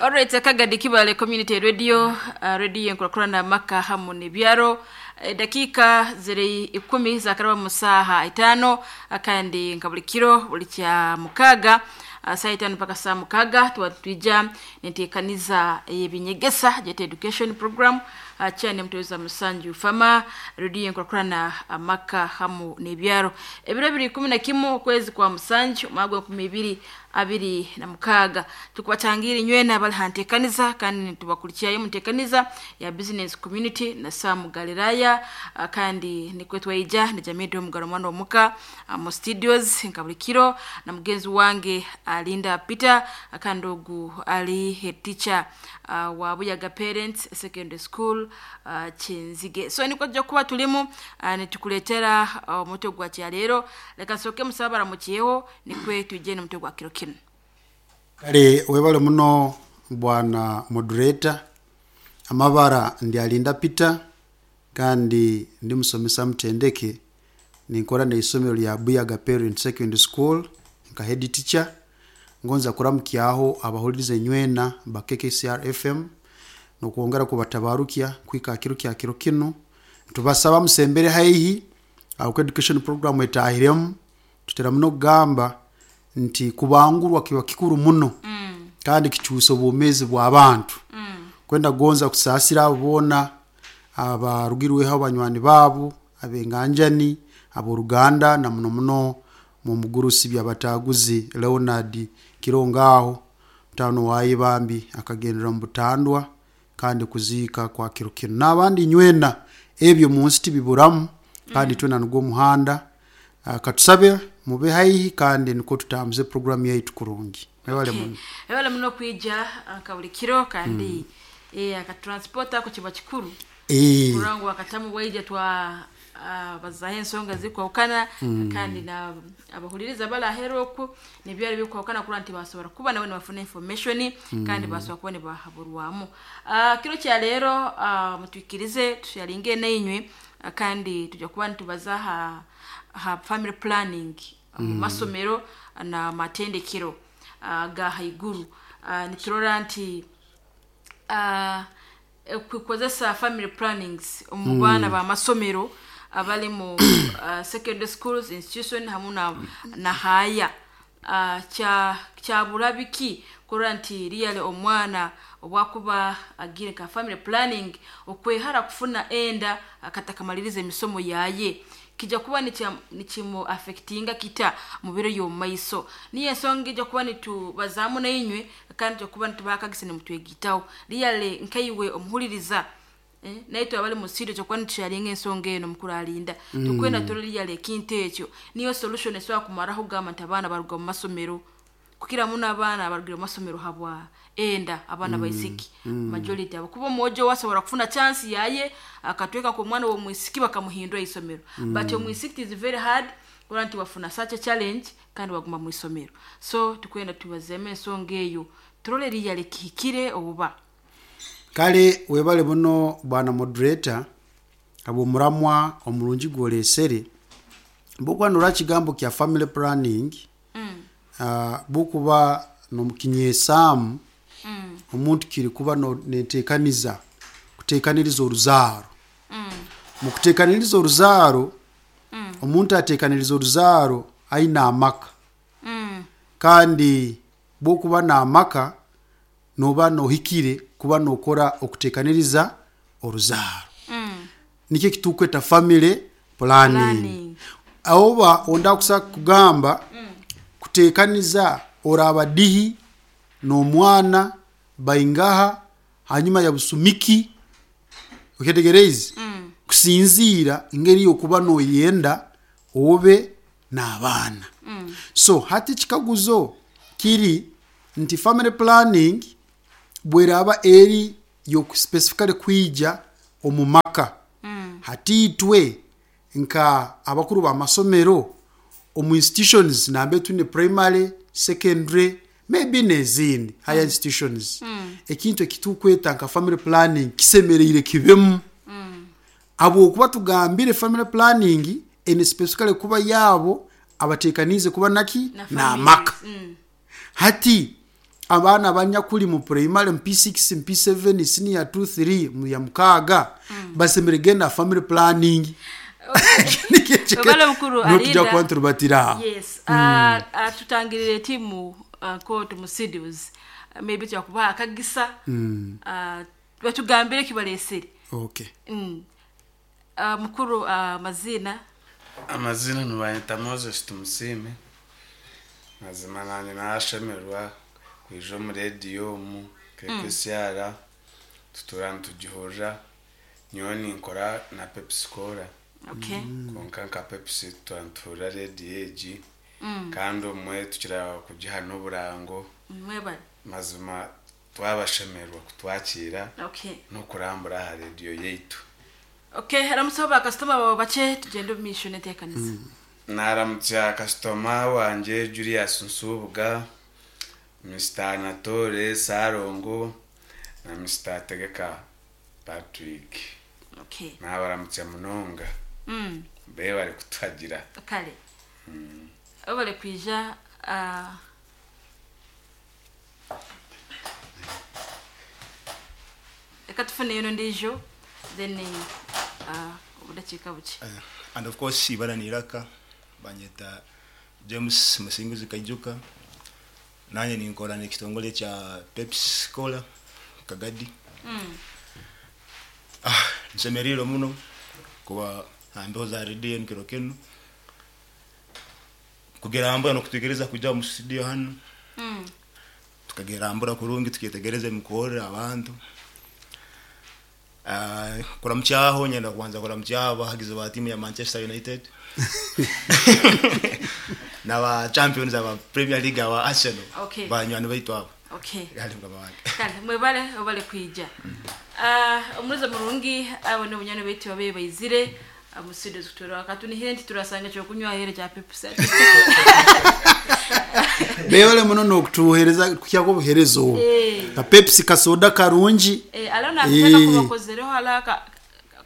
Alright, Kagadi Kibale Community Radio, radio enkurakurana amaka hamu n'ebyaro. Edakiika ziri 10 zakaraba mu saaha 5, kandi nka buli kiro buli kya mukaaga, saa 5 mpaka saa 6, tuba twija nenteekaniza ey'ebinyegesa gyete education program, kyane muteweza musanju fama radio enkurakurana amaka hamu n'ebyaro. Ebiro biri 11 okwezi kwa musanju omwaka gwa 2026, tukubatangira inywena abali ha nteekaniza kandi nitubakurikirayo mu nteekaniza ya business community na Sam Galilaya, kandi nikwe twaija ni Jamii Omugaro mwana omuka mu studios nka buli kiro na mugenzi wange Alinda Peter, kandi ogu ali head teacher wa Buyaga Parents Secondary School, Kyenzige. So nikwo tujja kuba tulimu, nitukuleetera omutwe gwa kyaleero. Leka nsooke musaba baramukiyeho nikwe twije n'omutwe gwa kiro kinu. Kale webale muno bwana moderator. Amabara ndi Alinda Peter kandi ndi musomesa mutendeke, ninkora n'eisomero lya Buyaga Parent Secondary School nka head teacher. Ngonza kuramukyaho abahuliriza enywena ba KKCR FM n'okwongera kubatabarukya kuhika kiro kya kiro kinu. Tubasaba musembere haihi aho education program etahiremu. Tutera muno kugamba nti kubangurwa kiba kikuru muno kandi kikyusa obwomeezi bw'abantu. Kwenda kugonza kusaasira abo boona abarugirweho abanywani baabo, ab'enganjani, ab'oruganda na muno muno mugurusi Byabataguzi Leonard Kirongaho, mutaano waye bambi akagendera mu butandwa kandi kuziika kwa kiro kinu. N'abandi nywena ebyo mu nsi tibiburamu kandi twena nigwo omuhanda. Katusabe mube haihi kandi nikwo tutambuze programu yaitu kurungi. Mwebale muno. Ebale muno kwija nka buli kiro kandi akatransport ako kiba kikuru. Kurangu akatamu waija twa bazaho ensonga zikwahukana, kandi na abahuliriza balahera oku nebyari bikwahukana kura nti basobora kuba nawe nibafuna information kandi basobora kuba nibahaburwamu. Kiro kya leero, mutwikirize tusharinge nainywe, kandi tujja kuba nitubaza ha family planning mu masomero na matendekero ga haiguru. Niturora nti kukozesa family plannings omu baana b'amasomero abali mu secondary schools institution hamu na haya, kyabura biki kurora nti really omwana obwakuba agire nka family planning okwehara kufuna enda akatakamaliriza emisomo yaye, kijja kuba nikimu affectinga kita mu biro by'omu maiso. Niyo ensonga ijja kuba nitubazaamu nainywe kandi tujja kuba nitubaha akagisa nimutwegitaho. Really nkaiwe omuhuliriza, naitwe abali mu studio tujja kuba nitusharinga ensonga eno mukuru Alinda. Tukwenda turole really ekintu ekyo niyo solution esobola kumaraho kugamba nti abaana baruga mu masomero, kukira muno abaana abarugire mu masomero habwa enda, abaana baisiki majority abo, kuba omwojo wasobora kufuna chance yaye akatweka ku omwana w'omwisiki bakamuhindura isomero, but omwisiki is very hard kurora nti wafuna such a challenge kandi waguma mu isomero. So tukwenda tubazemu ensonga eyo turole really kihikire obuba. Kale webale muno bwana moderator habw'omuramwa omurungi gworesere. Bwokuba norora kigambo kya family planning, bwokuba nomukinyesaamu omuntu kiri kuba nenteekaniza kuteekaniriza oruzaaro. Mu kuteekaniriza oruzaaro, omuntu ateekaniriza oruzaaro aine amaka. Kandi bwokuba n'amaka noba nohikire kuba nokora okuteekaniriza oruzaaro. Nikyo ekitukweta family planning. Oba onda kusa kugamba kuteekaniza oraba dihi n'omwana baingaha hanyuma ya busumiki, okyetegereize, kusinziira engeri yokuba noyenda obe n'abaana. So hati ekikaguzo kiri nti family planning bweraba eri yokuspecifically kwija omu maka, hati itwe nka abakuru b'amasomero omu institutions nambere twine primary, secondary maybe n'ezindi higher institutions, ekintu ekitukweta nka family planning kisemereire kibemu, habwokuba tugambire family planning ene specifically kuba yaabo abateekaniize kuba naki n'amaka. Hati Abaana abanyakuri mu primary, mu P6, mu P7, senior 2, 3, mu ya mukaaga basemeriire kugenda aha family planning. Webale mukuru Niho tujya Alinda. kuba niturubatira aho. Yes. Tutangirire tiimu kooti mu studios. Maybe twakubaha akagisa. Batugambire eki bareesire. Okay. Mukuru amaziina. Amaziina nibanyeta Moses Tumusiime. Mazima nanye nashemererwa kwija omu rediyo omu KKCR tutuura nitugihurira. Nyowe ninkora na Pepsi Cola. Okay. Kwonka nka Pepsi tutuura nituhurira rediyo egi kandi obumwe tukira kugiha n'oburango. Mwebale. Mazima twabashemererwa kutwakiira Okay. n'okurambura aha rediyo yaitu. Okay, ramutsaho bakasitoma bawe bakye tugyende omu maisho n'enteekanisa. Naramutsya kasitoma wangye Julius Nsubuga, Mr Anatole Sarongo na Mr Tegeka Patrick. Okay. Nabaramutsya munonga. Bebare kutuhagira. Kare. Webale kwija reka tufuneyo n'ondiijo then obudakiika bukye. And of course ibara ni Iraka banyeta James Musinguzi Kaijuka nanye ninkora n'ekitongole kya Pepsi Cola Kagadi. Nsemereire muno kuba aha mbeho za rediyo enu kiro kinu kugerambura n'okutuikiriza kwija omu studio hanu tukagerambura kurungi tukyetegereza emikorre abantu. Kuramukyaho nyenda kubanza kuramukyaho abahagizi ba timu ya Manchester United n'aba champions aba Premier League aba Arsenal. Okay. Banywani baitu abo. Okay. Kale mukama wange. Kale mwebale obale kwija. Omuruza murungi abo ni bunyani baitu babe baizire mu studio kutura katunihire nti turasanga kyokunywa ahere kya Pepsi. Bebale muno n'okutuhereza kukyako obuhereza obu. Ka Pepsi kasoda karungi. Ala nakutaka kubakozereho ala ka,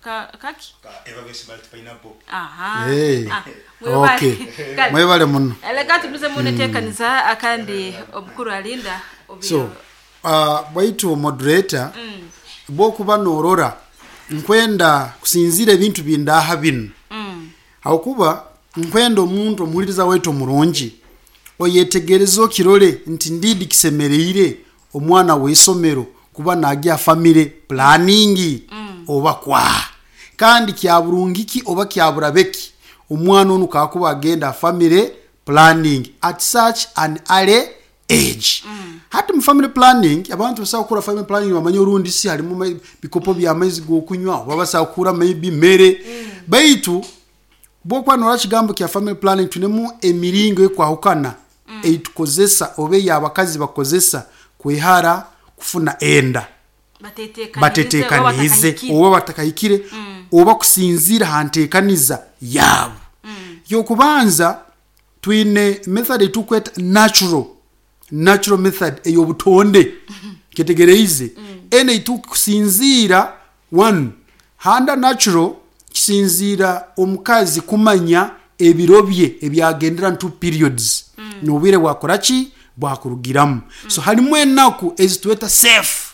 ka, kaki? Ka Everbest Malt Pineapple. Aha. Mwebale. Okay. Kale. Mwebale muno. Reka tuguze mu neteekaniza akandi omukuru alinda So, bwaitu moderator, bwokuba norora nkwenda kusinzira ebintu bindaha binu. Hakuba nkwenda omuntu omuhuliriza waitu omurungi oyetegereze okirore nti ndidi kisemereire omwana w'isomero kuba nagya family planning oba kwa kandi kya burungiki oba kya burabeki omwana onu kakuba agenda family planning at such an early age. Hati mu family planning abantu basobola kukora family planning bamanye orundi si harimu bikopo by'amaizi g'okunywa oba basobola kukura maybe mere. Baitu bwokuba norora kigambo kya family planning tunemu emiringo ekwahukana eitukozesa oba ey'abakazi bakozesa kwehara kufuna enda. Batetekanize oba batakahikire oba kusinzira ha nteekaniza yaabo. Yokubanza twine method etukweta natural method ey'obutonde kyetegereize ene itukusinzira one handa natural kisinzira omukazi kumanya ebiro bye ebyagendera ntu periods n'obwire bwakora ki bwakurugiramu. So harimu enaku ezitweta safe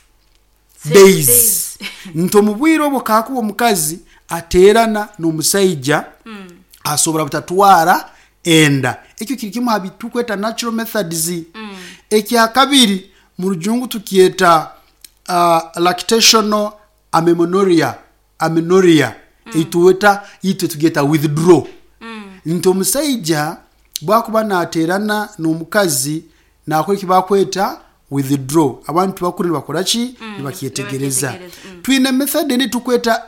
days. Days. Nti omu bwire obwo kakuba omukazi ateerana n'omusaija asobora butatwara enda. Ekyo kiri kimwe aha bitukweta natural methods. Ekya kabiri mu rujungu tukyeta lactational amenorrhea. Eituweta itwe tugyeta withdraw. Nti omusaija bwakuba nateerana n'omukazi nakora eki bakweta withdraw. Abantu bakuru nibakora ki? Nibakyetegereza. Nibakyetegereza. Twine method endi tukweta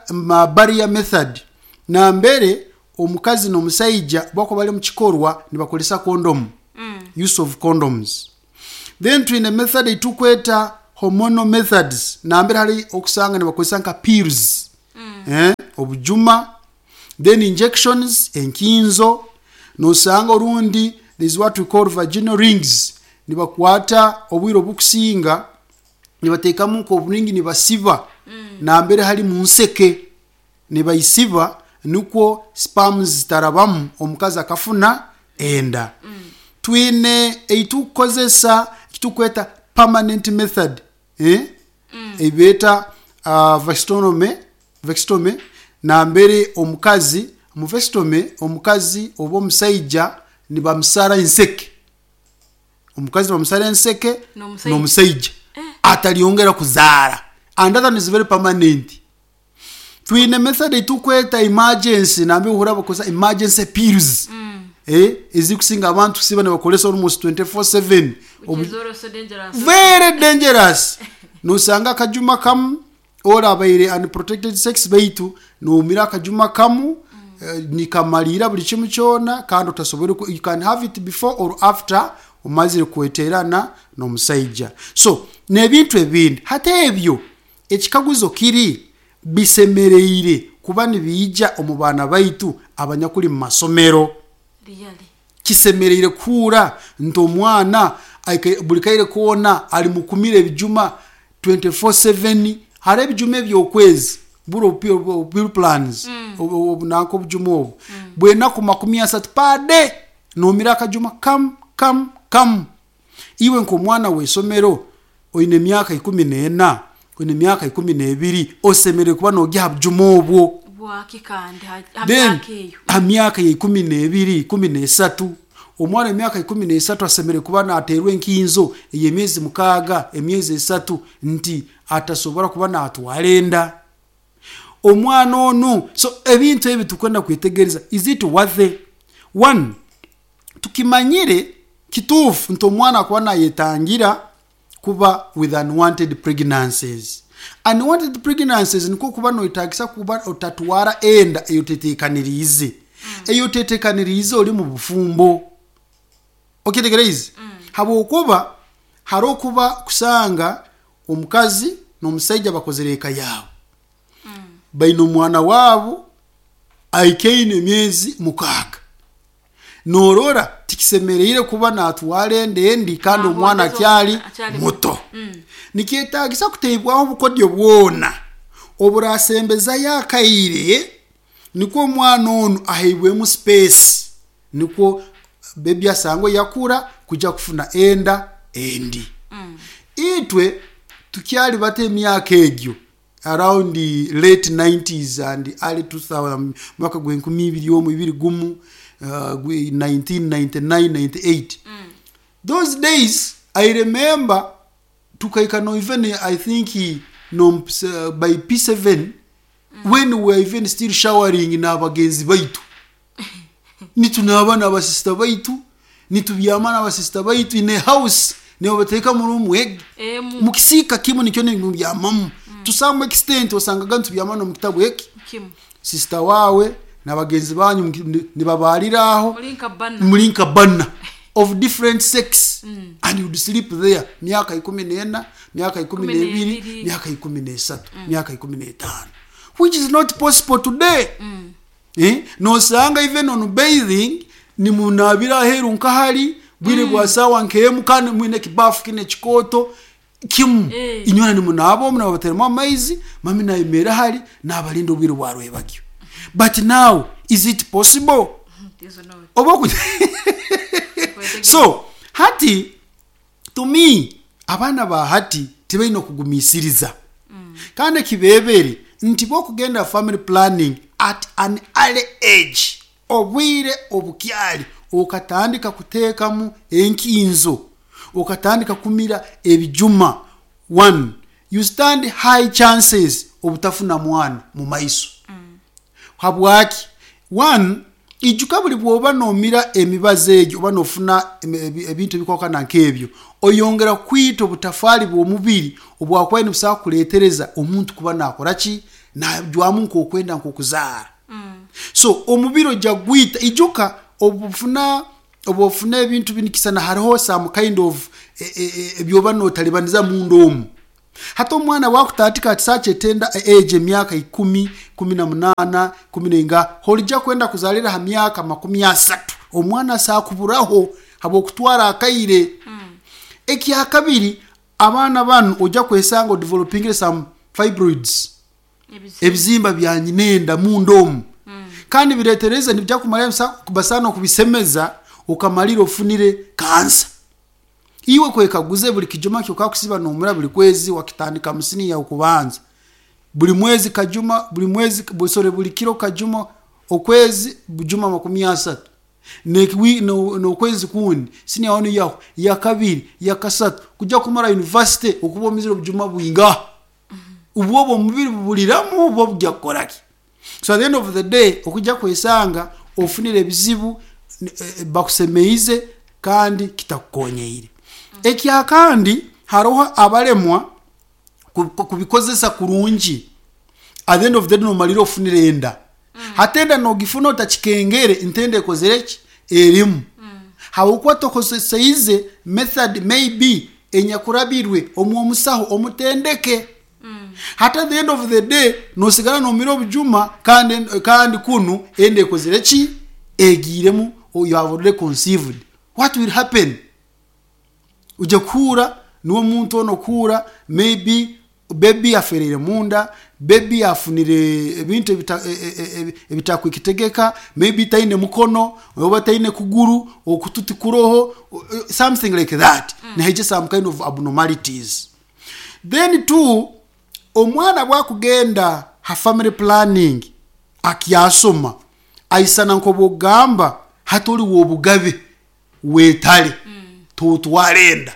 barrier method. Nambere omukazi n'omusaija bwakuba bari omu kikorwa nibakoresa condom. Use of condoms. Then twine method etukweta hormonal methods. Nambere hari okusanga nibakozesa nka pills. Obujuma. Then injections, enkinzo. Nosanga orundi there is what we call vaginal rings. Nibakwata obwire obukusinga nibateekamu nk'oburingi nibasiba. Nambere hari mu nseke nibayisiba nukwo sperms zitarabamu omukazi akafuna enda. Twine eitukozesa ekitukweta permanent method eh? Ei beeta vasectomy, vasectomy nambere omukazi, omu vasectomy omukazi oba omusaija nibamusara enseke. Omukazi nibamusara enseke N'omusaija. n'omusaija ataryongera kuzaara and that one is very permanent. Twine method ei turikweta emergency nambere ohurira bakozesa emergency pills eh, ezirikusinga abantu kusiiba nibakoresa almost 24/7 Which is also dangerous. Very dangerous. Nosanga akajuma kamu orabaire unprotected sex baitu nomira akajuma kamu eh, nikamariira buri kimwe kyona kandi otasobora ku- you can have it before or after omazire kweterana n'omusaija. So n'ebintu ebindi hati ebyo ekikaguzo kiri bisemereire kuba nibiija omu baana baitu abanyakuri mu masomero. Really. Kisemereire kuhuura nti omwana aikaire buri kaire koona ari mukumira ebijuma 24/7. Hariho ebijuma eby'okwezi buri obu pill plans obu nanka obujuma obu bw'enaku 30 per day noomira akajuma kamu kamu kamu. Iwe nk'omwana w'eishomero oine emyaka 14, oine emyaka 12 osemereire kuba noorya aha bujuma obwo. Bwaki kandi ha ha Then myaka eyo? aha myaka ya 12, 13, omwana w'emyaka 13 asemereire kuba naateerwa enkinzo ey'emyezi 6, emyezi 3 nti atasobora kuba naatwara enda. Omwana onu, so ebintu ebi turikwenda kwetegyereza, is it worthy? One, tukimanyire kituufu nti omwana akuba naayetangira kuba with unwanted pregnancies. Unwanted pregnancies nikwo kuba noyetagisa kuba otatwara enda ei oteteekaniriize. Ei oteteekaniriize ori omu bufumbo. Okyetegereize? Habw'okuba hariho okuba kushanga omukazi n'omusaija bakozire eka yaabo. Baine omwana waabo aikaine emyezi 6. Noorora tikisemereire kuba naatwara enda endi kandi omwana akyari muto. Nikyetaagisa kuteibwaho obukodyo bwona oburasembezayo akaire nikwo omwana onu aheibwemu space nikwo baby asangwe yakura kuija kufuna enda endi. Itwe tukyari bato emyaka egyo around late 90s and early 2000 mwaka gw'enkumi ibiri omu ibiri gumu 1999 98 those days I remember tukahika no even I think no by P7 when we were even still showering n'abagenzi baitu nitunaaba n'abasisita baitu nitubyama n'abasisita baitu in a house nibabateeka mu room egi Emu. mu kisiika kimwe nikyo nimubyamamu to some extent osangaga nitubyama n'omu kitabu eki Kimu. sisita waawe n'abagenzi banyu nibabaarira aho Muri nka bana. muri nka bana of different sex and you'd sleep there myaka 14, myaka 12, N'ebiri. myaka 13, myaka 15, which is not possible today. Eh? Nosanga even on bathing nimunabira aheeru nkahari bwire bwa saawa nk'emu kandi mwine ekibafu kine ekikooto kimu Eh. inywena nimunaaba omu nababateremu amaizi mami nayemerera ahari nabarinda obwire bwa rwebagyo. But now is it possible? It is not. Oba oku so hati to me abaana ba hati tibaine kugumisiriza kandi ekibebere nti bokugenda family planning at an early age obwire obukyari okatandika kuteekamu enkinzo okatandika kumira ebijuma one you stand high chances obutafuna mwana mu maiso. Habwaki? One, ijuka buri bwoba nomira emibazi egyo oba nofuna ebintu ebikwakana nk'ebyo oyongera kwita obutafaari bw'omubiri obwakubaire nibusobola kureetereza omuntu kuba nakora ki najwamu nk'okwenda nk'okuzaara. So omubiri ojja kugwita. Ijuka obufuna obufuna ebintu binikisana hariho some kind of ebyoba notalibaniza munda omu. Hati omwana wakutandika at such a tender age emyaka 10, 18, kumi n'enga horijja kwenda kuzarira aha myaka 30 omwana asakuburaho habw'okutwara akaire. Ekyakabiri abaana banu ojja kwesanga odevelopingire some fibroids Ebizimba. Ebizimba bya nyinenda munda omu kandi biretereza nibijja kumara basaana okubisemeza okamarira ofunire kansa. Iwe kwekaguze buli kijuma kyokakusiba nomura buli kwezi wakitandika musini ya okubanza. Buli mwezi kajuma, buli mwezi sorry buli kiro kajuma, okwezi bujuma 30. N'okwezi kundi siniya wanu yaho yakabiri yakasatu kujya kumara university okuba omizire obujuma bwinga ubwo omubiri bubuliramu obwo bujya kukoraki. So at the end of the day okujya kwesanga ofunire ebizibu bakusemeize kandi kitakukonyeire. Ekyakandi haroho abalemwa kubikozesa kurungi. At the end of the day nomalira ofunire enda. Hati enda nogifuna otakikengere nti enda ekozere ki? Erimu. Habwokuba tokozeseize method maybe enyakurabirwe omu omusaho omutendeke. Hati at the end of the day nosigara nomira obujuma kandi, kandi kunu enda ekozere ki? Egiiremu, you have already conceived. What will happen? Ojya kuhuura niwe omuntu onu okuhuura maybe baby afereire munda, baby afunire ebintu ebitakukitegeka, maybe taine mukono oba taine kuguru, okutu tikuroho, something like that. Nihaija some kind of abnormalities. Then two, omwana bwakugenda ha family planning akyasoma, aisana nk'obwokugamba hati ori w'obugabe wetare totwara enda.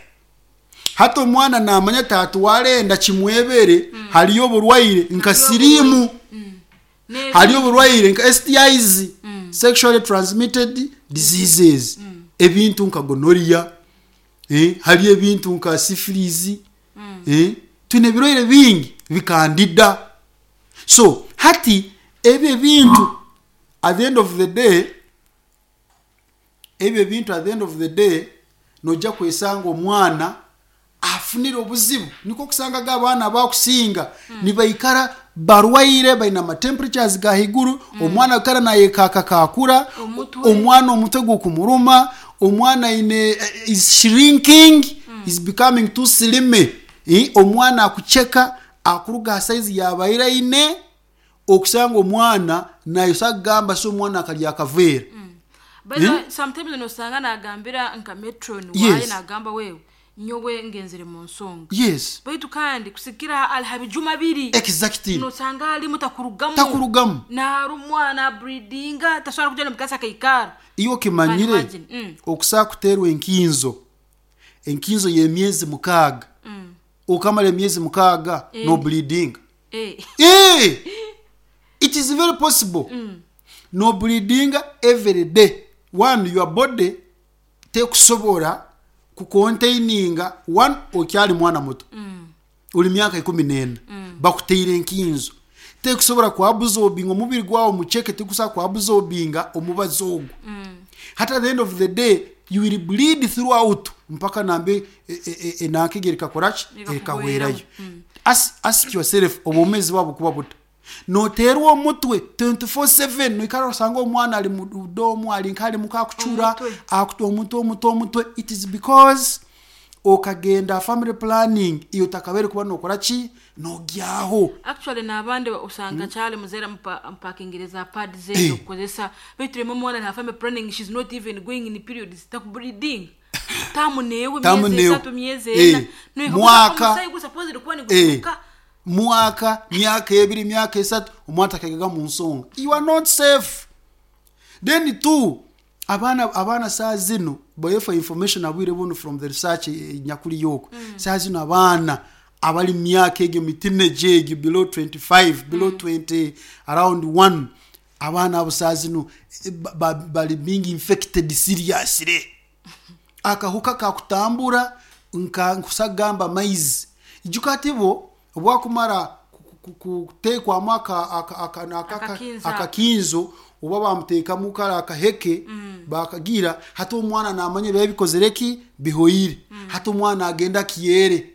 Hati omwana namanya tatwara enda kimwebere, hariyo oburwaire nka siriimu, hariyo oburwaire nka STIs, sexually transmitted diseases, ebintu nka gonorrhea, hariyo ebintu nka syphilis, twine ebirwaire bingi bikandida. So hati ebyo ebintu at the end of the day, ebyo ebintu at the end of the day noija kwesanga omwana afunire obuzibu. Nikwo okusangaga abaana abakusinga nibaikara barwaire, baine ama temperatures ga haiguru, omwana aikara nayekakakakura, omwana omutwe gukumuruma, omwana aine is shrinking, is becoming too slim, omwana akucheka akuruga aha size yabaire aine. Okusanga omwana nayosa kugamba si omwana akarya akaveera. By the way, sometimes nosanga nagambira nka matron waaye nagamba wewe nyowe ngenzire mu nsonga. Baitu kandi kusigikira ali ha bijuma biri. Nosanga alimu takurugamu. Takurugamu. Narumwa, nabreedinga, tasobora kugenda omu class akaikara. Iwe okimanyire okusobola kuteerwa enkinzo, enkinzo y'emyezi 6, okamara emyezi 6 nobleedinga. Eh! It is very possible. No bleedinga every day. One, your body tekusobora kucontaininga one, okyali mwana muto. Ori myaka 14. Bakuteire enkinzo. Tekusobora kuabsorbinga omubiri gwawe mucheke tikusobola kuabsorbinga omubazi ogwo. Hati at the end of the day you will bleed throughout mpaka nambe enanka egyo erikakora ki? Erikahwerayo. Ask yourself obwomezi bwawe bukuba buta? Noteerwa omutwe 24/7 noikara osanga omwana ari mu domu ari nka arimu kakucura, omutwe omutwe omutwe. It is because okagenda aha family planning iwe otakabaire kuba nokora ki? Nogyaho. Actually n'abandi osanga akyali muzaire amupakingire za pads ze okukozesa baitu rimwe omwana ari aha family planning she's not even going in periods takubleedinga. Tamu neewe Tamu myezi neewe. 3 myezi 4. Mwaka. Omusaayi gu supposedly kuba niguturuka. Mwaka, myaka 2, myaka 3, omwana takaigaga mu nsonga. You are not safe. Then two, abaana saa zinu, by for information abwire bunu from the research nyakuri yoko. Saa zinu abaana abali myaka egyo mi teenage egyo below 25, below 20, around 1, abaana abo saa zinu bali being infected seriously. Akahuka kakutambura nka nkusagamba maizi. Ijuka ati bo obwakumara kuteekwamu akakinzo oba bamuteekamu kare akaheke bakagira hati omwana namanya ebiba bikozire ki bihoire. Hati omwana agenda akiyere.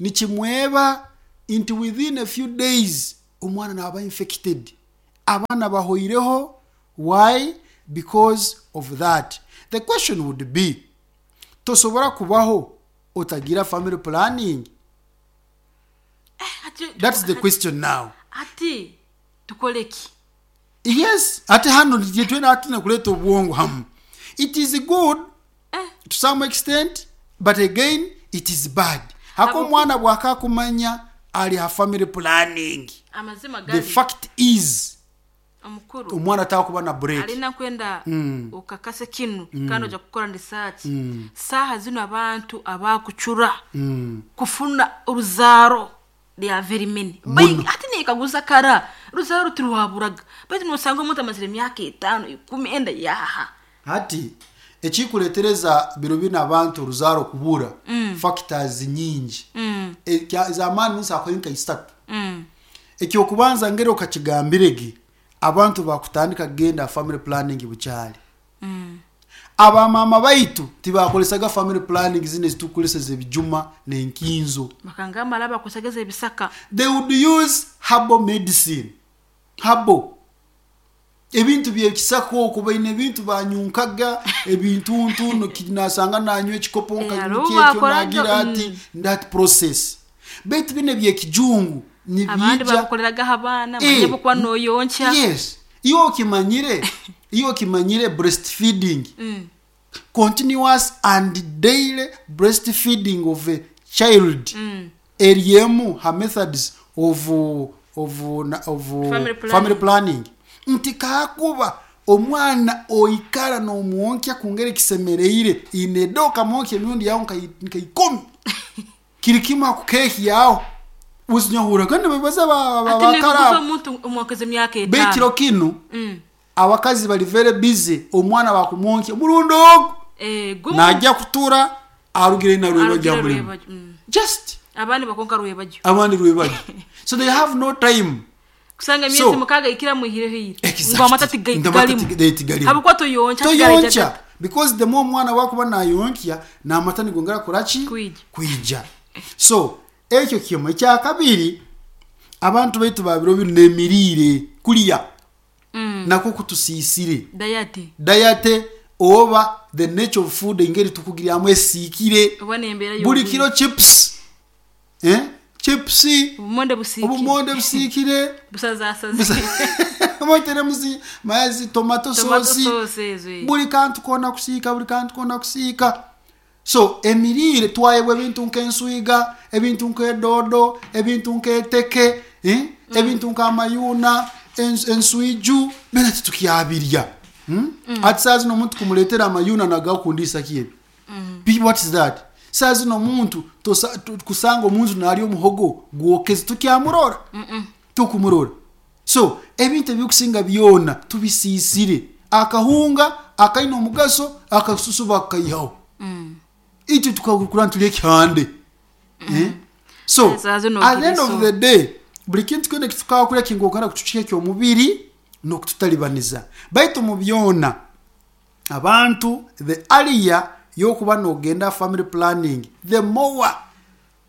Nikimweba nti within a few days omwana naba infected. Abaana bahoireho. Why? Because of that. The question would be, tosobora kubaho otagira family planning? That's the question now. Ati tukore ki? Yes, ati hano twena atine kuleta obwongo hamu. It is good to some extent But again it is bad. Haka Habwokuba- omwana bwakakumanya ali ha family planning. Amazima The gari fact is omukuru omwana takuba na break. Alina kwenda ukakase kinu kandi oja kukora research. Saha zino abantu abakucura kufuna oruzaro, they are very many. Ati nikaguza kara ruzaro tiruhaburaga, baitu nosanga omuntu amazire emyaka 5, 10 enda yaha. Hati ekikuletereza biro bino abantu oruzaaro kubura, factors nyingi z'amaani nsakoyo nka isatu. Ekyokubanza, ngeri okakigambirege, abantu bakutandika kugenda family planning bukyali. Abamama baitu tibakolesaga family planning zino ezitukoleseza, ebijuma n'enkinzo. Bakangamba ala bakusageza ebisaka. They would use herbal medicine, herbal ebintu byekisaka okwo, baine ebintu banyunkaga ebintuntu, nasanga nanywa ekikopo Hariho nkakyekyo bakoraga, nagira ati that process. Baitu bino ebyekijungu abandi nibiija babukoreragaho abaana manye bokuba noyonkya. Yes, iyo okimanyire breastfeeding, continuous and daily breastfeeding of a child eriemu ha methods of Family planning. Family planning, nti kakuba omwana oikara n'omwonkya kungeri kisemereire ineda okamwonkya emirundi yawe nka 10, kiri kimwe akukehyaho uzinyahuraga nibabaza Ati nikuguza bakara omuntu omwokeza emyaka bekiro 5. kinu abakazi bali very busy, omwana bakumwonkya murundi ogu Gumu najja kutura arugire narwebajja arugire mulimu. rwebajyo. Just Abandi bakonka rwebajyo. Abandi rwebajyo, so they have no time. Kusanga emyezi 6 ikira muhireho ire Exactly. ngo amata Ngo amata tigalimu. tigalimu. Habwokuba toyonkya. Toyonkya, because the more omwana wakuba nayonkya n'amata nigongera kuraki? Kwija. Kwija. So ekyo kimwe. Ekyakabiri, abantu baitu babiro bino n'emiriire kulya nakwo kutusiisire. Diet. Diet oba the nature of food, engeri tukugiryamu esiikire. Oba nembeera. Buli kiro chips, eh? Chips. Obumonde busiikire. Obumonde busiikire. Busazasaze. Moteremu mazi, tomato tomato sauce. Sauce ezo, eh. Buli kantu kona kusiika, buli kantu kona kusiika. So emiriire twayebwa ebintu nk'enswiga, ebintu nk'edodo, ebintu nk'eteke, eh? Ebintu nk'amayuna, enswiju, byona titukyabirya, Ati saa zino omuntu kumuleetera amayuna nagakundisa ki ebi? What is that? Saa zino omuntu kusanga omuntu nalya omuhogo gwokeze, tukyamurora? Tukumurora. So ebintu ebikusinga byona tubisiisire. Akahunga akaine omugaso, akasusu bakaihaho, itwe tukakura ntulya ekihande, eh? So Saa zino at the end of ogiriso. the day, buli kintu kyona ekitukakulya kingokana kutukiha ekyomubiri n'okututalibaniza. Baitu mu byona, abantu the earlier yokuba nogenda family planning, the more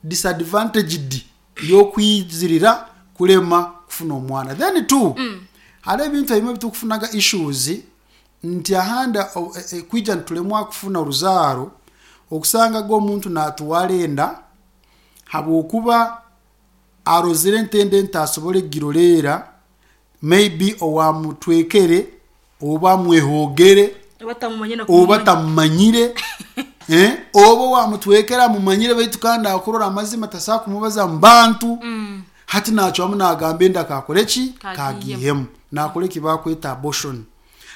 disadvantaged yokwizirira kulema kufuna omwana. Then two, hariho ebintu ebimwe bitukufunaga issues nti ahanda kwija nitulemwa kufuna oruzaaro, okusangaga omuntu natwara enda habwokuba arozire entende ntasobole giroleera, maybe owamutwekere oba amwehogere. Oba tamumanye na Oba kumumanya. tamumanyire, eh? Oba wamutwekera amumanyire, baitu kandi akurora amazima tasobola kumubaza mu bantu. Hati nacwamu nagamba enda kakore ki? Kagihemu. Kagihemu, nakora eki bakweta abortion.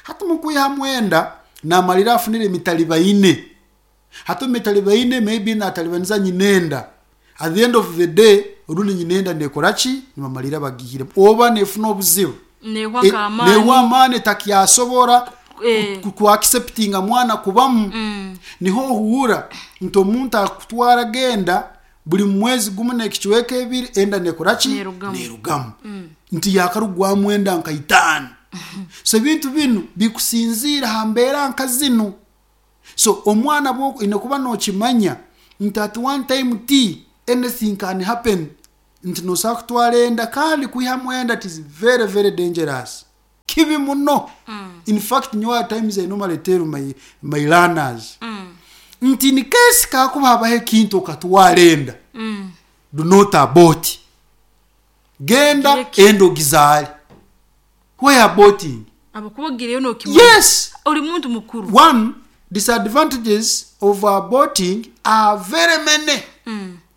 Hati mukwihamu enda, namalira afunire emitalibaine. Hati omumitalibaine, maybe natalibaniza nyinenda. At the end of the day, orundi nyinenda nekora ki? Nibamalira bagihiremu oba nefuna obuzibu. Nehwa nk'amaani. Nehwa amaani, takyasobora kuacceptinga mwana kubamu. Niho ohuura nti omuntu akutwara genda buli mwezi gumu nekicweka ebiri, enda nekora ki? Nerugamu. Nerugamu, nti yakarugwamu enda nka 5. So ebintu binu bikusinziira ha mbeera nka zinu. So omwana bwo ine kuba nokimanya nti at one time t anything can happen, nti nosobola kutwara enda, kandi kwihamu enda it is very very dangerous, kibi muno. In fact, nyowe at times I normally tell my learners nti in case kakuba habaho ekintu okatwara enda, do not abort. Genda Gireke. enda ogizaale. Why aborting? Abakuba ogireyo nokimanya. Yes. Ori muntu mukuru. One, Disadvantages of aborting are very many.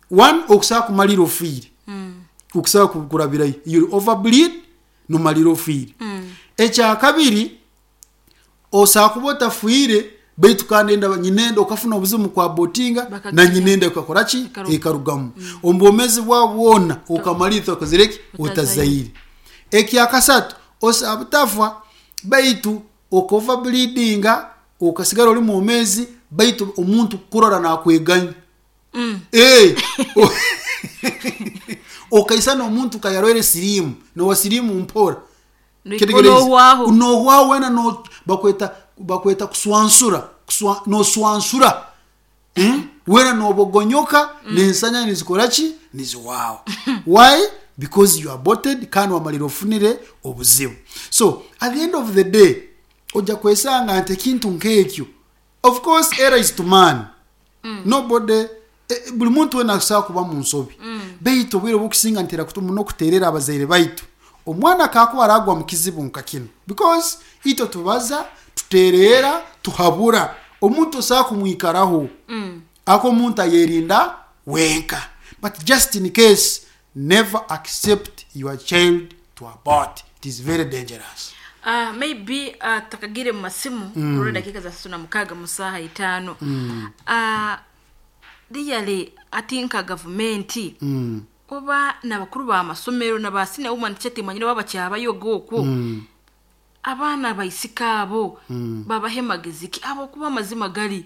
One, okusobola kumalira ofiire. Okusobola kurabirayo. You'll overbleed, nomalira ofiire. Ekyakabiri, osobola kuba otafiire baitu kandi enda nyinenda okafuna obuzibu mu kwabotinga na Bakaganya. nyinenda ekakora ki? Ekarugamu. Ekarugamu. Omu bwomeezi bwawe bwona okamalira otakozire ki? Otazaire. Otazaire. Ekyakasatu, osobola butafa baitu oka overbleedinga okasigara ori mwomeezi baitu omuntu kukurora nakweganya. Eh, okaisana omuntu kayarwaire siriimu, nowa siriimu mpora. Noikwo nohwaho. Nohwaho wena no bakweta bakweta kuswansura, kuswa, noswansura. Wena nobogonyoka nensanya nizikora ki? Niziwaho. Why? Because you aborted kandi wamalira ofunire obuzibu. So at the end of the day ojja kwesanga nti ekintu nk'ekyo of course error is to man. Nobody buli muntu wena asobola kuba mu nsobi. Baitu obwire obukusinga ntera muno kuterera abazaire baitu. Omwana kakuba aragwa mu kizibu nka kinu because itwe tubaza, tuterera, tuhabura. Omuntu osobola kumwikaraho. Ako omuntu ayerinda wenka. But just in case, never accept your child to abort. It is very dangerous. Maybe tutakagire mu masimu kurora dakika za 36 mu saaha 5. Really ati nka gavumenti oba n'abakuru b'amasomero na ba senior woman teacher timanyire oba bakyabayoga okwo. Abaana baisika abo babahe magezi ki abo kuba amazima gari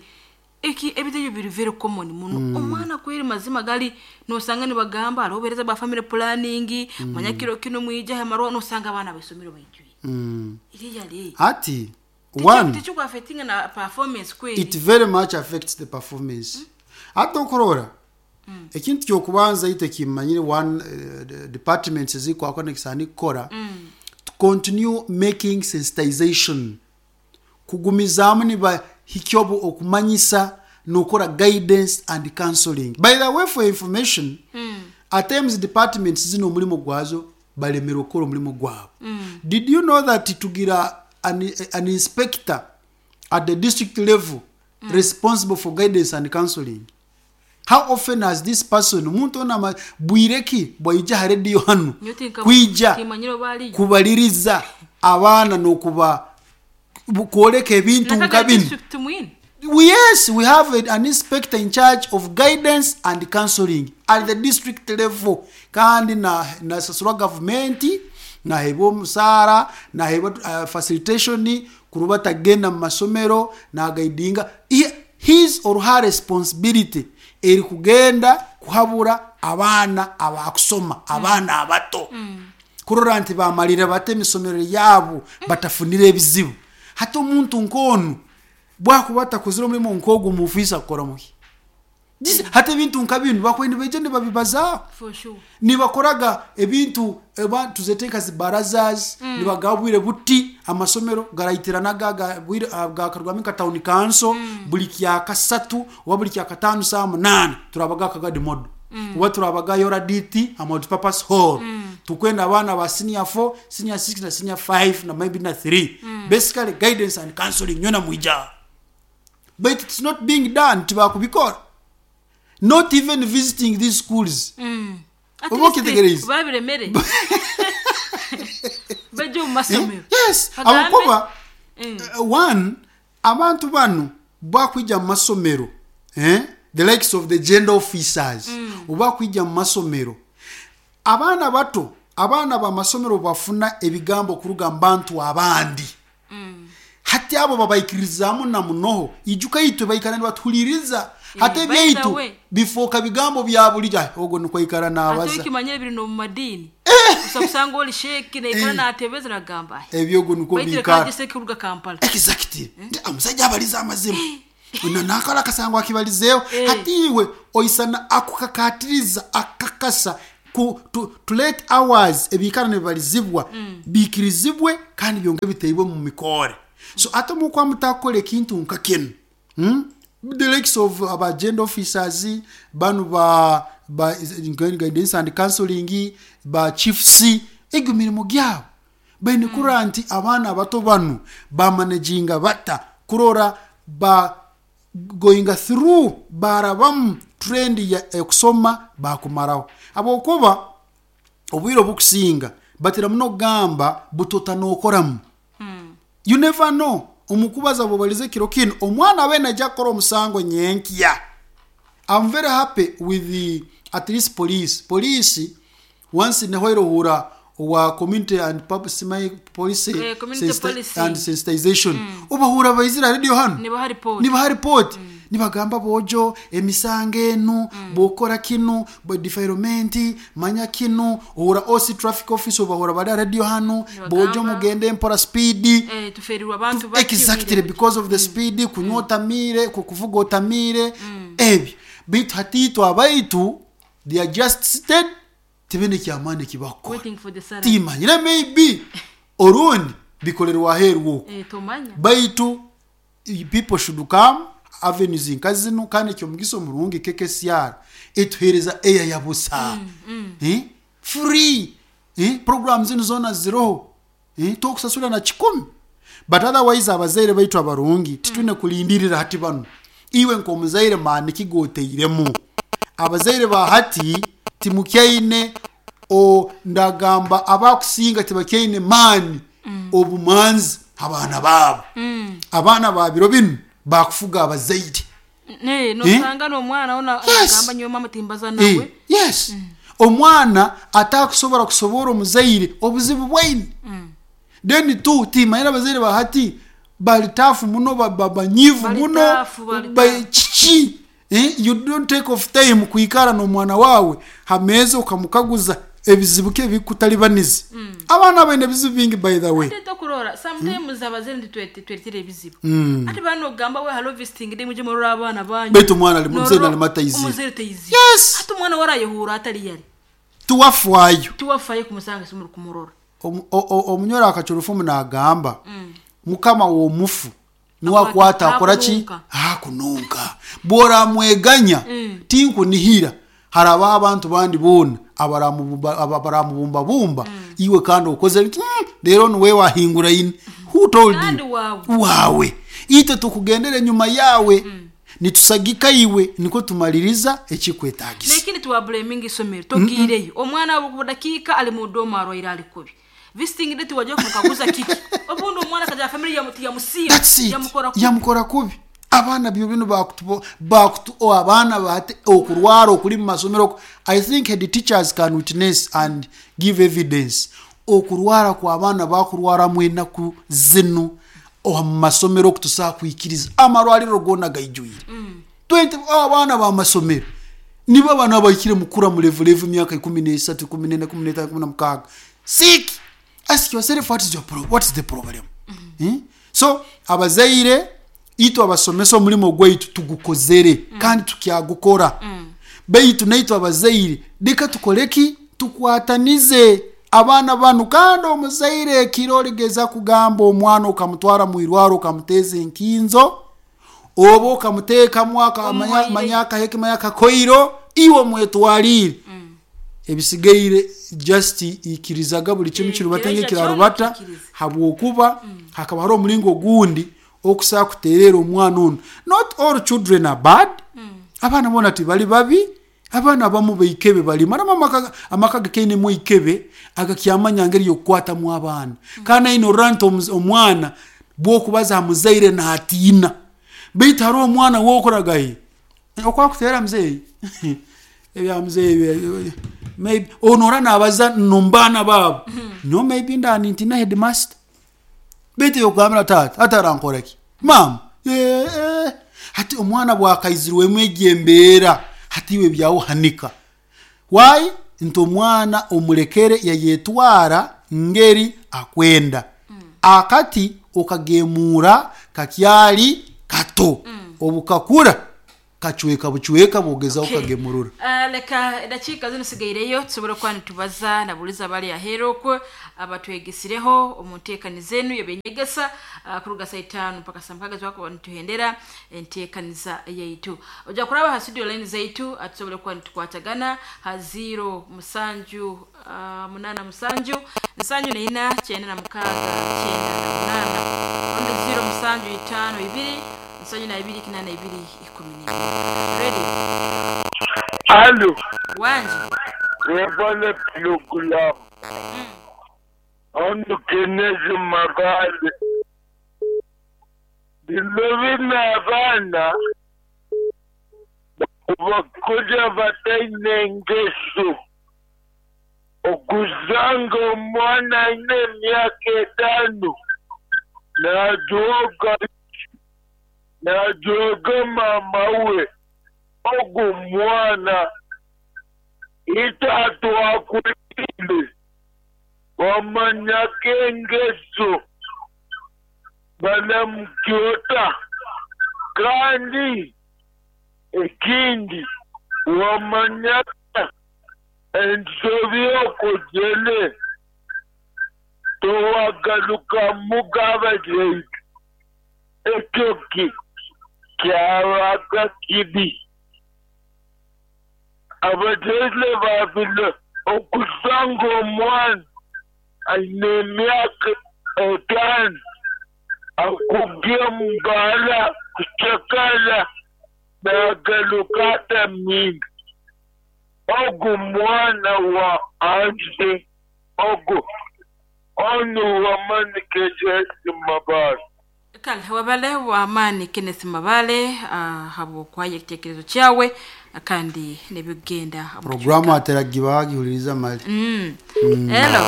eki ebintu ebyo biri very common muno. Omwana kweri mazima gari nosanga nibagamba hariho obuheereza bwa family planning, manya kiro kinu mwije aha marwa nosanga abaana b'eisomero baijwire. Really. Ati one Tichikwa affecting na performance kweri. It very much affects the performance. Ate okurora ekintu kyokubanza itwe kimanyire one departments ezikwakora nekisaani kukora to continue making sensitization kugumizaamu nibahikya obu okumanyisa nokora guidance and counseling. By the way, for information, at times departments zino omurimo gwazo balemerwe kukora omurimo gwabo. Did you know that tugira an inspector at the district level responsible for guidance and counseling? How often has this person, omuntu ona bwire ki bwaija ha radio hanu Nyowe kwija timanyire oba ariyo. kubaliriza abaana n'okuba kwoleka ebintu Nakaga nka binu? district mwine. Yes, we have an inspector in charge of guidance and counseling at the district level. Kandi nasasurwa gavumenti, nahebwa omusaara, nahebwa facilitation, kuruba tagenda mu masomero, nagaidinga. His or her responsibility eri kugenda kuhabura abaana abakusoma, abaana abato. Kurora nti bamalire bata emisomero yabo, batafunire ebizibu. Hati omuntu nk'onu bwakuba atakozire omurimo nk'ogu mu ofiisi akukora muki? Hati ebintu nka binu bakuba nibaija nibabibazaho. For sure. Nibakoraga ebintu eba tuzete nka zibarazas, nibagabwire buti amasomero garaitiranaga bwire, gakarwamu nka town council, buli kya kasatu oba buli kya katano saa 8 turabaga akagadi modo. Oba turabaga yoraditi a multipurpose hall. Tukwenda abaana ba senior 4, senior 6 na senior 5 na maybe na 3. Basically guidance and counseling nyona mwija. But it's not being done tibakubikora. Not even visiting these schools. At Oba least okitegereize? babiremere. Bajje omu masomero. Yes, Bagambe. abakuba one abantu banu bakwija mu masomero, the likes of the gender officers, oba kwija mu masomero. Abaana bato, abaana b'amasomero bafuna ebigambo kuruga mu bantu abandi. Hati abo babaikirizamu na munoho, ijuka itwe baikara nibatuhuliriza. Hati By the ebyaitu way. bifooka bigambo bya bulijjo. Ai, ogwo nikwo aikara naabaza. Ate ekimanyire biri n'omu madiini. Osa kusanga ori sheeki naikara naatebeza nagamba, ai, Ebyo ogwo nikwo Baitu biikara. reka ngye sheeki kuruga Kampala. Exactly. Ndi, omusajja abaliza amazima. Ono naakora akasango akibalizeeho. Hati iwe oisana akukakatiriza akakasa ku, to let ours ebiikara nibibalizibwa biikirizibwe kandi byonge biteibwe mu mikore. So ate omu mutakukora ekintu nka kinu. The likes of aba gender officers, banu ba guidance and counseling, ba chiefs, egyo mirimo gyabo. Baine kurora nti abaana abato banu bamanaginga bata kurora ba going through barabamu trend ya ekusoma bakumaraho habwokuba obwire obukusinga batera muno kugamba butota nokoramu. You never know, omukubaza bwobaliza ekiro kinu omwana abe najja kukora omusango nyenkya. I'm very happy with the at least police. Police once nehwaire ohura owa community and public policy Community policy. and sensitization obahura baizira radio hano Nibaha report. Nibaha report, nibagamba bojo emisango enu bwokora kinu defilement manya kinu. Ohura OC traffic office obahura bari radio hano bojo mugende mpora speed. Tuferirwa abantu bati. Exactly, because of the speed, kunywa otamire, kuvuga otamire, ebyo. Baitu hatiitwe abaitu they are just seated, tibine kyamaani kibakukora. Waiting for the salary. Timanyire, maybe orundi bikorerwa aheeru okwo. Tomanya. Baitu people should come avenues nka zinu. Kandi ekyomugisa omurungi, KKCR etuhereza eya ya busa, Eh? Free, eh? Program zinu zona ziroho, eh? Tokusasura na 10. But otherwise abazaire baitu abarungi titwine kulindirira hati banu. Iwe nk'omuzaire maani kigoteiremu. Abazaire ba hati timukyaine o ndagamba abakusinga tibakyaine maani obumanzi abaana baabo. Abaana ba biro binu bakufuga abazaire. Nosanga n'omwana ona Yes. agamba nyowe mama timbaza nawe. Yes, omwana atakusobora kusobora omuzaire obuzibu bwaine. Then tu timanyira abazaire ba hati bali tafu muno, banyivu Bali muno. tafu, bali tafu. Kiki? You don't take off time kwikara n'omwana wawe hameeza ukamukaguza ebizibu ke bikutalibaniza. Abaana baine ebizibu bingi, by the way. Ate tokurora sometimes abazaire ntitweretera ebizibu. Ate bano ogamba we hello visiting day muje murora abaana banyu. Baitu omwana ali muzeire Norora- alima tayizire. Omuzaire tayizire. Yes. Ate omwana warayehura atali yali. Tuwafwayo. Tiwafayo kumusanga simuri kumurora. Omunyoro akacurufumu nagamba mukama w'omufu niwe akwata akora ki? Akununka. Akununka bworamweganya tinkunihira haraba abantu bandi boona abaramubumbabumba iwe kandi okoze nti, leero niwe wahingura ine. Who told Kandi you? wawe. Wawe itwe tukugendera enyuma yawe, nitusagika iwe niko tumaliriza ekikwetagisa. Nekindi tiwablaminga isomero. Togiireyo omwana budakiika ali mu doma arwaire ali kubi. Visiting day tiwajja kumukaguza kiki. Obundi omwana kaja family yamusiima. That's it. Yamukora kubi. Yamukora kubi. Abaana byo bino bakutu bakutu o abaana bate okurwara okuli mu masomero, I think the teachers can witness and give evidence. Okurwara kwa abaana bakurwaramu enaku zinu mu masomero okutusaa kwikiriza amarwariro gona gaijwire. 20 abaana bamasomero nibo abaana abahikire mukura mulevulevu myaka 13, 14, 15, 16 sick. Ask yourself, what is your what is the problem? Eh? So abazaire itwe abasomesa omulimo gwaitu tugukozere kandi tukyagukora. Baitu naitwe abazaire leka tukoleki, tukwatanize abaana banu. Kandi omuzaire ekiro oligeza kugamba omwana okamutwara mu irwaro okamuteza enkinzo oba okamuteekamu Omuwaire. manya akaheke manya akakoiro iwe omwetwalire ebisigaire, just ikirizaga buli kimu kirubata Kirija ng'ekirarubata. kyona kikirize. Habwokuba hakaba hari omulingo gundi okusobola kuterera omwana ono. Not all children are bad. Abaana bona tibali babi. Abaana abamu baikebe balimu aramu amaka gakainemu ikebe agakyamanya ngeri yokukwatamu abaana. Kandi aine orora nti omwana bwokubaza aha muzaire natiina. Baitu hariho omwana wokoragaye okwakuteera muzeeyi ebya muzeeyi maybe ono ora nabaza nombaana baabo no maybe ndani ntina headmaster. Baitu yokugambira taata atarankoraki mama. Hati omwana bwakaizirwemu egyo embeera hati iwe byawuhanika why nti omwana omulekere yayetwara ngeri akwenda. Akati okagemura kakyali kato, obukakura kacweka bucweka bwogezaho kagemurura. Leka edakiika zino sigaireyo tusobole okuba nitubaza nabuliza abali aheeru okwo abatwegesireho omu nteekaniza enu ebyenyegesa kuruga saa 5 mpaka saa 6 twakuba nituhendera enteekaniza yaitu. Ojja kuraba ha studio line zaitu, tusobole kuba nitukwatagana ha 0 7 8 7 74 96 98 rundi 0 7 5 2. 72 82 12. Radio. Alo, Wanji. webale pulogulamu. Ono Kenezi Mabale. Bino bino abaana bakuja bataine engeso. Okuzanga omwana aine emyaka 5 najooga mama we ogu mwana itatu akulile wamanyako engeso banamukyota kandi ekindi wamanyaka ensobi okozele towagaluka mugabajeitu ekyo kyabaga kibi. Abazaire babiri okusanga omwana aine emyaka 5 akubye omubaara kucakara nagaruka atamiire. Ogu mwana wa anze ogu onu wamani Kenneth Mabale. Kale wabale wamani Kenneth Mabale habwokwaye ekitekerezo kyawe kandi nebigenda Programu ateragiba gihuliriza mali. Hello.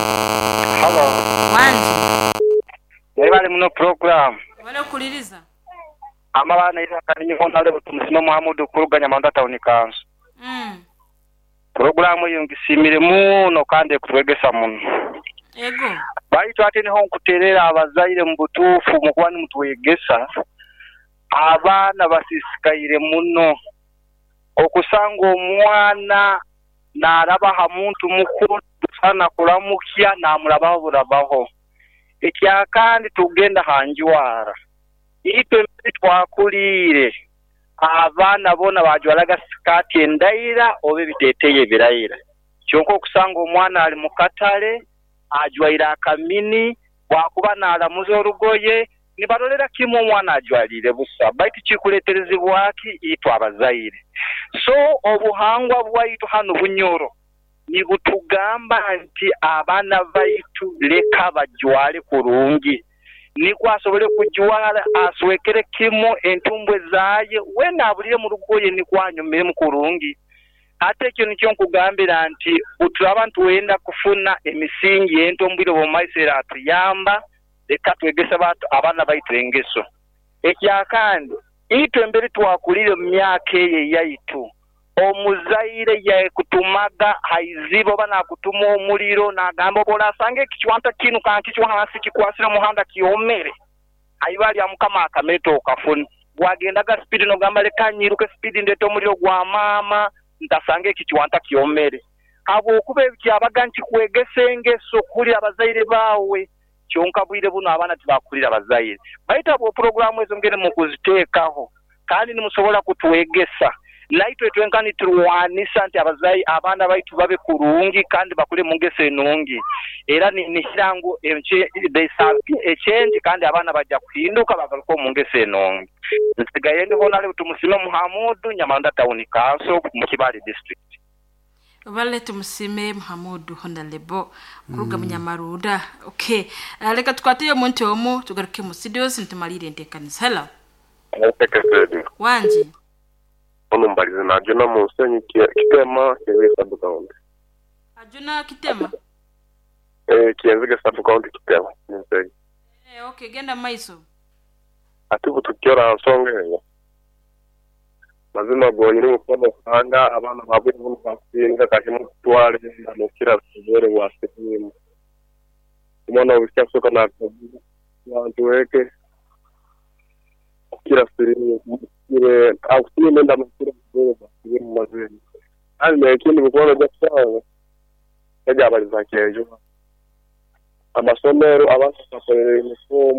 Hello. Wanji. Wabale muno program. Wabale kuliriza. Amabana ira kanyi honale butumusima Muhammadu kuruganya manda town council. Programu iyo ngisimire muno kandi kutwegesa muno. Ego. Baitu ate niho nkuterera abazaire mu butuufu mu kuba nimutwegesa abaana basisikaire muno okusanga omwana narabaha muntu mukuru sana kuramukya namurabaho burabaho. Ekyakandi tugenda hanjwara itwe twakulire abaana bona bajwalaga sikati endaira obe biteteye birayira kyonka okusanga omwana ali mukatale ajwaira akamini bwakuba nalamuza orugoye nibarolera kimwe omwana ajwalire busa baitu kikuleterezibwaki itwe abazaire. So obuhangwa bwaitu hano Bunyoro nibutugamba nti abaana baitu leka bajwale kurungi niko asobole kujwala aswekere kimo entumbwe zaye wena abulire mu rugoye nikwanyumire mu kurungi. Ate ekyo nikyo nkugambira nti uturaba ntuwenda kufuna emisingi entombwire bw'omumaisera atuyamba leka twegesa abaana baitu engeso. Ekyakandi itwe embere twakulire mu myaka eyo eyaitu omuzaire yakutumaga haizibo oba nakutuma omuliro nagamba oba orasanga ekichwanta kinu kankichwa hansi kikwasire omuhanda kiomere aiba lya mukama akameta okafuna wagendaga spidi nogamba leka nyiruke spidi ndete omuliro gwa maama ntasanga ekichwanta kiomere. Habwokuba ekyabaga nkikwegesa engeso kulira abazaire bawe kyonka bwire buno abaana tibakulira abazaire. Baitu abo programu ezo ngere mu kuziteekaho kandi nimusobola kutwegesa naitwe twenka niturwanisa nti abazaire abaana baitu babe kurungi kandi bakule mu ngeso enungi era nikirango echange kandi abaana bajja kuhinduka bagaruka mu ngeso enungi. Nsigaye ndi honale tumusime Muhamudu Nyamanda Town Council mu Kibale District. Wale tumusime Muhamudu Honalebo kuruga Munyamaruda. Okay, leka tukwate omuntu omu tugaruke mu studios ntumalire entekanisa. Hello. Wanji. Ono mbalize na Ajuna Musenyi Kitema Kienzige sub county. Ajuna Kitema? Kienzige sub county Kitema Musenyi. Okay, genda maiso. Atibu tukiora nsonga eyo. Mazima gonyine mukono sanga abaana babwe buno basinga kahimu kutwale anokira bwere bwa sirimu. Omwana obusya kusoka na bantu weke kira sirimu kire akusime nda mukira bwere bwa sirimu mazima. Ali nekindi mukono gyasawa. Ejabaliza kejo. Amasomero abasakolera emisomo